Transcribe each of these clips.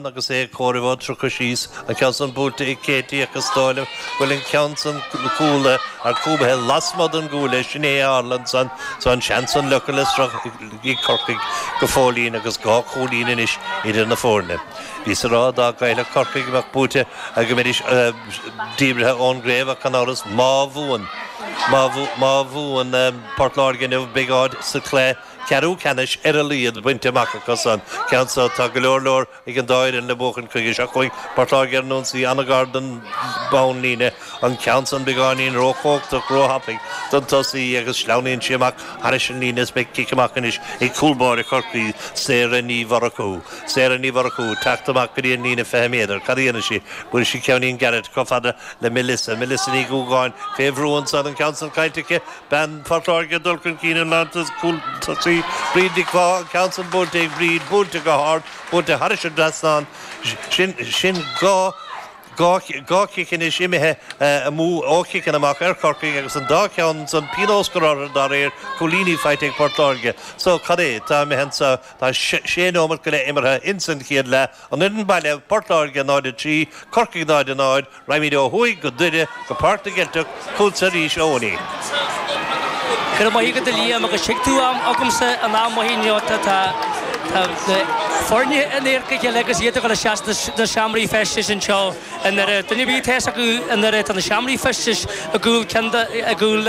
Agus é ag comhaireamh ó 30 síos, an ceann san buailte ag Katie ach is dóigh liom go bhfuil an ceann san cúlaithe ar cúbaithe lasmuigh den gcuaille, sin é a tharla ansan. So an seans san leofa le sruth ag Corcaigh go fóillín agus 2 chúilín anois idir na foirne. Bhíos ag rá dá gcaillfeadh Corcaigh go mbeadh buaite go mbeidís díbrithe ón gcraobh ach gan amhras má bhuann má bhuann Port Láirge inniu beidh áit sa chluiche ceathrú ceannais ar a laghad bainte amach acu san ceann so. Tá go leor leor ag an dá fhoireann le buachaint chuige seo chugainn. Port Láirge ar an ionsaí, an-ghar don bhonnlíne. An ceann san beagáinín róchumhachtach, róthapaidh don tosaí agus sleamhnaíonn sí amach thairis an líne is beidh cic amach anois ag cúl báire Chorcaí, Sarah Ní Mhurchú. Sarah Ní Mhurchú ag teacht amach go dtí an líne 20 méadar. Cad a dhéanfaidh sí? Buailfidh sí ceainnín gairid chomh fada le Melissa. Melissa Ní Dhúgáin fé bhrú ansan, an ceann san caillte aici. Bean Phort Láirge ag dul chun cinn an lántosaí cúl Bríd Nic Mhaith, an ceann san buailte ag Bríd, buailte go hard, buailte thairis an dtrasnán. Sin, sin 2, 2, 2 chic anois imithe amú ó chiceanna amach ar Chorcaigh agus an dá cheann san pionós curtha orthu dá réir, cúilíní faighte ag Port Láirge. So, cad é tá imithe anso? Tá sé nóimeat go leith imeartha ins an chéad leath. An fhoireann baile, Port Láirge 0-3, Corcaigh 0-0. Raghaimid ó thuaidh go Doire, go Páirc na gCeilteach, chugatsa arís a Eoiní. Go raibh maith agat a Liam agus tuig tú am agamsa an am maith inniu tá tá na foirne in adharca a chéile agus iad ag dul isteach sna seomraí feistis anseo i nDoire. Duine ar bith atá fhios acu i nDoire tá na seomraí feistis i gcúl ceann de i gcúl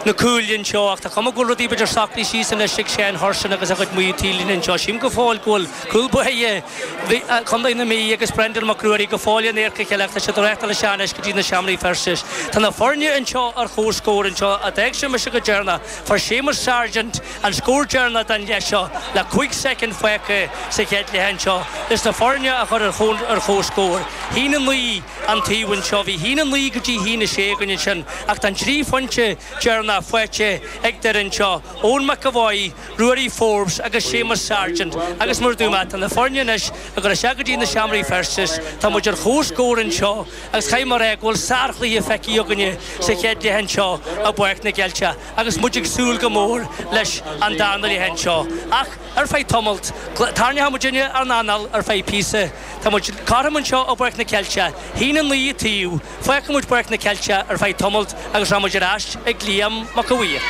na cúile anseo ach tá cuma go bhfuil rudaí b'fhéidir socraithe síos anois ag Seán Hurson agus a chuid muintir anseo. Sílim go fóill go bhfuil cúl báire Chontae na Mí agus Brendan Mac Ruairí go fóill in adharca a chéile ach tá siad ag reáchtáil isteach anois go dtí na seomraí feistis. Tá na foirne anseo ar chomhscór anseo a d'fhág sé mise go deireanach. Fuair Séamus Sargent an scór deireanach den leath seo le 5 soicind fágtha sa chéad leath anseo leis na foirne a chur ar chomhscór. 1-9 an taobh anseo. Bhí 1-9 go dtí 1-6 againn ansin ach tá an 3 phointe deireanach faighte ag Doire anseo, Eoin McEvoy, Ruairí Forbes agus Séamus Sargent agus mar a dúirt mé, tá na foirne anois ag dul isteach go dtí na seomraí feistis. Tá muid ar chomhscór anseo agus caithfidh mé a rá go bhfuil sárchluiche feicthe againne sa chéad leath anseo i bPáirc na gCeilteach agus muid ag súil go mór leis an darna leath anseo. Ach ar feadh tamalt, tarraingeoidh muidinne ár n-anáil ar feadh píosa. Tá muid cothrom anseo i bPáirc na Ceilteach, 1-9 an taobh. Fágfaidh muid Páirc na Ceilteach ar feadh tamalt agus rachaidh muid ar ais ag Liam Mac a' Mhaoir.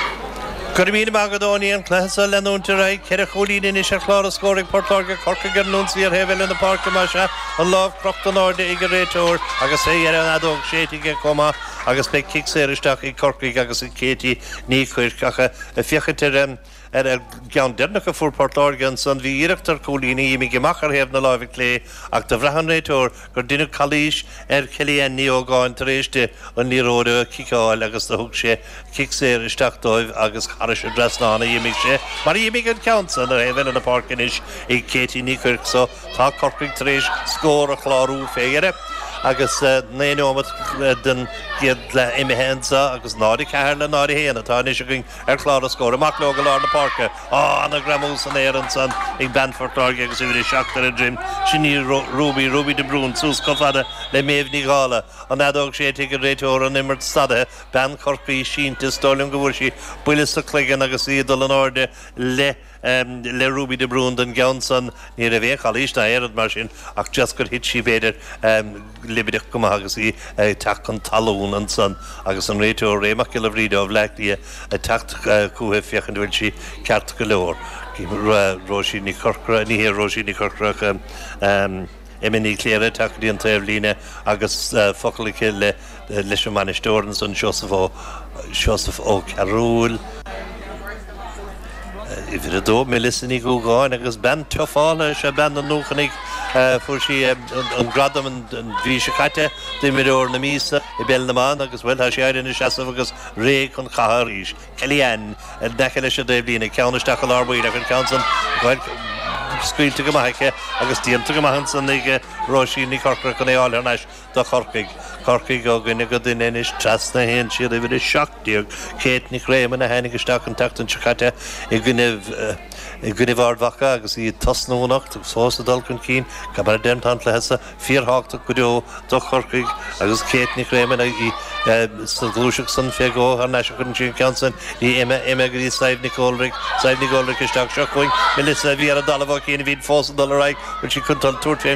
Go raibh míle maith agat a Eoiní, an cluiche seo ag leanúint ar aghaidh. Ceithre chúilín anois ar chlár na scór ag Port Láirge, Corcaigh ar an ionsaí ar thaobh eile na páirce más ea, an lámh crochta in airde ag an réiteoir agus fé dheireadh an fheadóg séidte aige chomh maith agus beidh cic saor isteach ag Corcaigh agus ag Katie Ní Chuirc ach ag féachaint ar an Ar an gceann deireanach a fuair Port Láirge ansan, bhí iarracht ar chúilín a d'imigh amach ar thaobh na láimhe clé ach do bhraith an réiteoir gur deineadh calaois ar Kellyanne Ní Ógáin tar éis di an liathróid a chiceáil agus do thug sé cic saor isteach dóibh agus thairis an dtrasnán a d'imigh sé mar a d'imigh an ceann san ar thaobh eile na páirce anois ag Katie Ní Chuirc so tá Corcaigh tar éis scór a chlárú fé dheireadh agus 9 neomat den gcéad leath imithe anso agus 0-4 le 0-1 atá anois againn Ar chlár na scór, amach leo go lár na páirce. Á, ana-ghreamú san aer ansan ag bean Phort Láirge agus uimhir 7 ar a droim. Sin í Ruby, Ruby de Brún, suas chomh fada le Méabh Ní Dhála. An fheadóg séidte ag an réiteoir, an imirt stadaithe. Bean Chorcaí sínte, is dóigh liom go bhfuair sí buille sa chloigeann agus í ag dul in airde le. le Ruby de Brún don gceann san. Ní raibh aon chalaois ná aon rud mar sin ach just gur thit sí b'fhéidir libideach go maith agus í ag teacht chun talún ansan agus an réiteoir Ray Mac Giolla Bhríde ó Bhleá Cliath ag teacht chúithi féachaint an bhfuil sí ceart go leor. Róisín Ní Chorcora, ní hé Róisín Ní Chorcora ach Emma Ní Chléire ag teacht go dtí an taobhlíne agus focal aici le leis an mbainisteoir ansan Seosamh Ó Seosamh Ó Cearúil. Uimhir 2, Melissa Ní Dhúgáin agus bean tufála is ea bean na nDúchanaigh. Fuair sí an gradam an mhí seo caite d'imreoir na míosa i bPeil na mBan agus, bhuel, tá sí éirithe ina seasamh agus réidh chun catha arís. Kellyanne in aice leis an dtaobhlíne, ceann isteach i lár baill ach an ceann san, bhuel, scaoilte go maith aici agus déanta go maith ansan ag Róisín Ní Chorcora chun é a fháil thar n-ais do Chorcaigh. Corcaigh ó dhuine go duine anois trasna a théann siad uimhir 17, Kate Nic Réamoinn a tháinig isteach an tseachtain seo caite i gcoinne. i gcoinnibh Ard Mhacha agus iad ag tosnú anocht agus fós ag dul chun cinn. Mar a deirim, tá an cluiche so fíorthábhachtach go deo do Chorcaigh agus Kate Nic Réamoinn í sa ghluaiseacht san fé dhó thar n-ais a chuireann sí an ceann san í Emma, Emma go dtí Sadhbh Nic Óldric, Sadhbh Nic Óldric isteach seo chugainn Melissa a bhí ar an dtalamh ó chian a bhíonn fós ag dul ar aghaidh, bhfuil sí chun dul tabhairt fén.